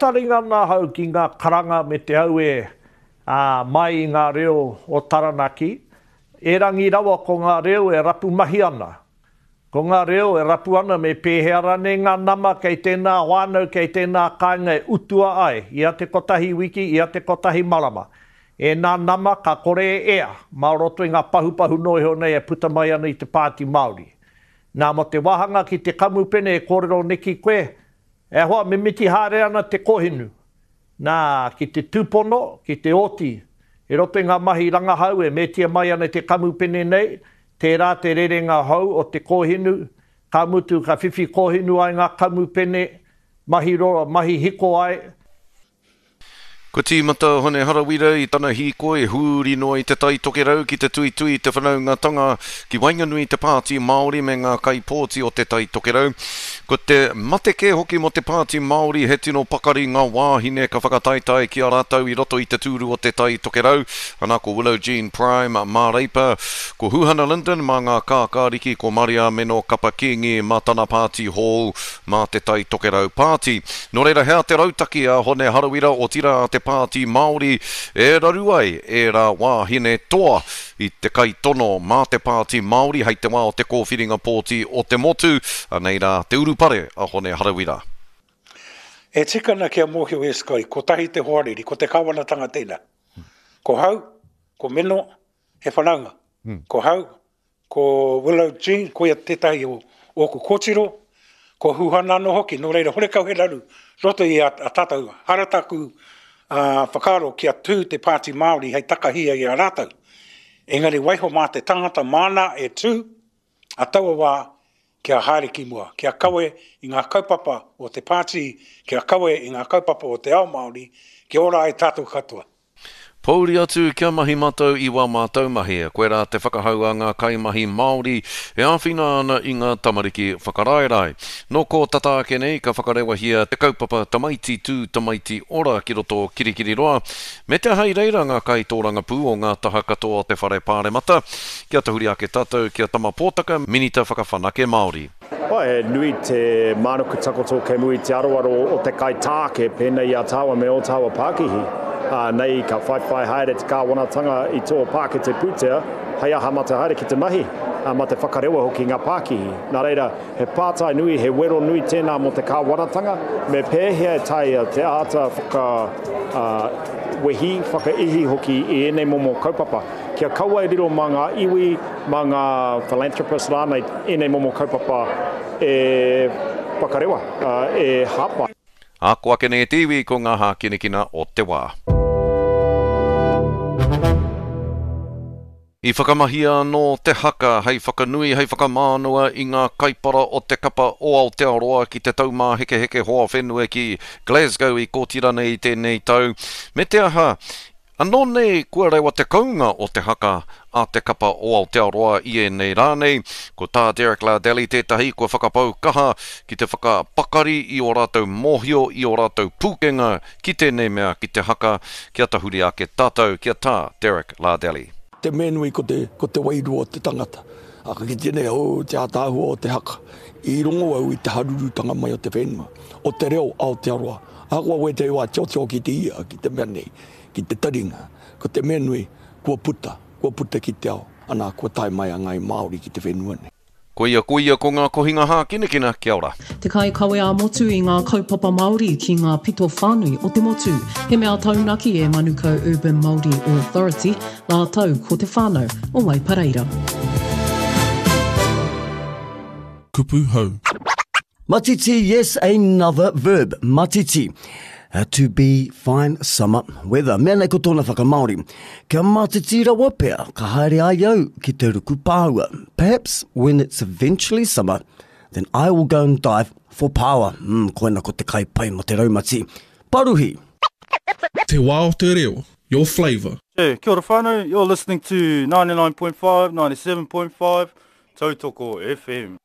Taringa ana ahau ki ngā karanga me te auē, ā, mai i ngā reo o Taranaki, erangi rawa ko ngā reo e rapu mahi ana. Ko ngā reo e rapu ana me pēhea ranei ngā nama kei tēnā whānau, kei tēnā kāinga e utua ai, ia te kotahi wiki, ia te kotahi marama. Ēnā nama ka kore e ea, mā roto i ngā pahupahu noa iho nei e puta mai ana i te Pāti Māori. Nā, mō te wāhanga ki te kamupene e kōrero neki koe, E hoa, mimiti haere ana te kohinu. Nā, ki te tūpono, ki te oti. I roto i ngā mahi rangahau e metia mai ana te kamupene nei, tērā te rerenga hou o te kōhinu, ka mutu ka whiwhi kōhinu ai ngā kamupene, mahi roro, mahi hiko ai. Kua tīmata a Hone Harawira i tana hīkoi huri noa i Te Tai Tokerau ki te tuitui i te whanaungatanga ki waenganui i te Pāti Māori me ngā kaipōti o Te Tai Tokerau. Ko te mate kē hoki mō te Pāti Māori he tino pakari ngā wāhine ka whakataetae ki a rātou i roto i te tūru o Te Tai Tokerau, ana ko Willow Jean Prime mā Reipa, ko Huhana Lyndon mā ngā Kākāriki, ko Mariameno Kapa Kingi mā tana pāti hou mā Te Tai Tokerau Pāti. Nō reira, he aha te rautaki a Hone Harawira, otirā a te Pāti Māori, e raru ai ērā wāhine toa i te kaitono mā te Pāti Māori hei te wā o te kōwhiringa pōti o te motu? Anei rā te urupare a Hone Harawira. E tika ana kia mōhio e Scotty, kotahi te hoariri, ko te kāwanatanga tēnā. Ko Hau, ko Meno, he whanaunga. Ko Hau, Ko Willow Jean, koia tētahi o ōku kōtiro, ko Huhana anō hoki, nō reira horekau he raru roto i a tātou. Hara tāku whakaaro kia tū te Pāti Māori hei takahia i a rātou. Engari waiho mā te tangata māna e tū a taua wā kia haere ki mua, kia kawe i ngā kaupapa o te pāti, kia kawe i ngā kaupapa o te ao Māori, kia ora ai tātou katoa. Pouri atu kia mahi matou i wā mātou mahi, koirā te whakahau a ngā kaimahi Māori e āwhina ana i ngā tamariki whakaraerae. Nō kō tata ake nei ka whakarewahia te kaupapa Tamaiti Tū Tamaiti Ora ki roto o Kirikiriroa, me te aha i reira ngā kaitōrangapū o ngā taha katoa o te Whare Pāremata. Kia tahuri ake tātou ki a Tama Pōtaka, Minita Whakawhanake Māori. Oh, he nui te mānuku takoto kei mua i te aroaro o te kaitāke pēnei i a tāua me ō tāua pākihi. Ā, nei ka whaiwhai haere te kāwanatanga i tō pākete pūtea hei aha mā te haere ki te mahi, ā, mā te whakarewa hoki ngā pākihi. Nā reira, he pātai nui, he wero nui tēnā mō te kāwanatanga, me pēhea e taea te āta whaka, ā, wehi, whakaihi hoki i ēnei momo kaupapa. Kia kaua e riro mā ngā iwi, mā ngā philanthropists rānei ēnei momo kaupapa e whakarewa, e hāpai. Ako ake nei e te iwi ko ngā hākinakina o te wā. I whakamahia anō te haka hei whakanui, hei whakamānawa i ngā kaipara o te kapa o Aotearoa ki te Taumāhekeheke Hoa Whenua ki Glasgow i Kōtirana i tēnei tau. Me te aha, Anō nei kua rewa te kounga o te haka a te kapa o Aotearoa i ēnei rā nei, ko tā Derek Lardelli tētahi kua whakapau kaha ki te whakapakari i ō rātou mōhio, i ō rātou pūkenga ki tēnei mea, ki te haka, kia tahuri ake tātou ki a Tā Derek Lardelli. Te mea nui ko te, ko te wairua o te tangata. A ka kite nei, oh, te ātaahua o te haka. I rongo au i te harurutanga mai o te whenua, o te reo Aotearoa. Ahakoa wētahi wā tiotio ki te ia, ki te mea nei, ki te taringa, ko te mea nui, kua puta, kua puta ki te ao, ana, kua tae mai a Ngāi Māori ki te whenua nei. Koia, koia ko ngā kohinga hākinakina, kia ora. Te kaikawe ā-motu i ngā kaupapa Māori ki ngā pito whānui o te motu. He mea taunaki e Manukau Urban Māori Authority rātou ko te whānau o Waipareira. Kupu hou. Matiti, yes, another verb, matiti. Uh, to be fine summer weather. Mea nei ko tōna whakamāori. Kia matiti rawa pea, ka haere ai au ki te ruku pāua. Perhaps when it's eventually summer, then I will go and dive for paua. Mm, koina ko te kai pai mo te raumati. Paruhi! Te wā o te reo, your flavour. Kia ora whānau, you're listening to 99.5, 97.5, Tautoko FM.